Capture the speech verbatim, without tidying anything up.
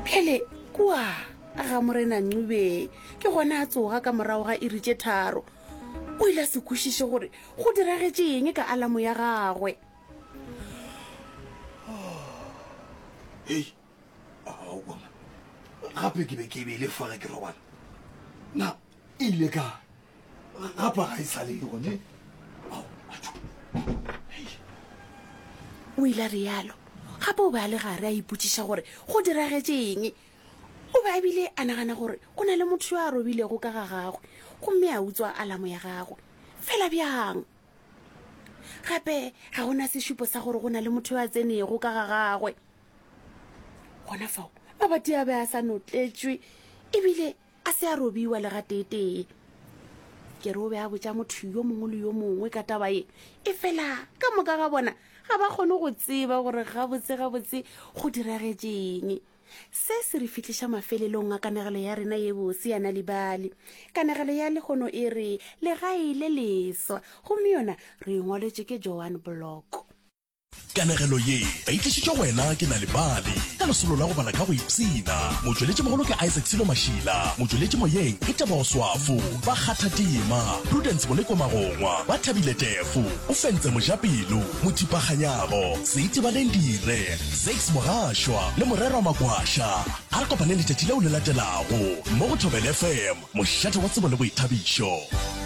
Bjale kua ga Morena Ncube ke gona a tsoga ka morago ga iri tše tharo. O ile a se kwešiše gore go diragetše eng ka alamo ya gagwe. Hei, aowa man, gape ke be ke e beile fa ge ke robala. Na e ile kae? Gape ga e sa le gone. Ao, atšho. Hei. O ile a realo. Gape o be a le gare a ipotšiša gore go diragetše eng. O be a bile a nagana gore go na le motho yo a robilego ka ga gagwe gomme a utswa alamo ya gagwe. Fela bjang? Gape ga go na sešupo sa gore go na le motho yo a tsenego ka ga gagwe. Gona fao, mabati a be a sa notletšwe e bile a se a robiwa le gateetee. Ke re o be a botša motho yo mongwe le yo mongwe ka taba ye, efela ka moka ga bona ga ba kgone go tseba gore gabotse-gabotse go diragetše eng. Se se re fihliša mafelelong a kanegelo ya rena ye bose ya Nal'ibali. Kanegelo ya lehono e re Legae le Leswa, gomme yona re e ngwaletšwe ke Joan Block. Kanegelo ye ba e tlišitšwe go wena ke Nal'ibali ka lesolo la go bala ka go ipshina. Motšweletšimogolo ke Isaac Silo Mašila, motšweletši moyeng ke Tebogo Swafo, ba kgatha tema Prudence Moleko Magongwa, ba Thabile Tefo, Ofentse Mojapelo, Mothipa Kganyago, Seitebaleng Dire, Zakes Mogašwa le Morerwa Makwasha. A re kopaneng letšatši leo le latelago mo go Thobela F M, mošate wa tsebo le boithabišo.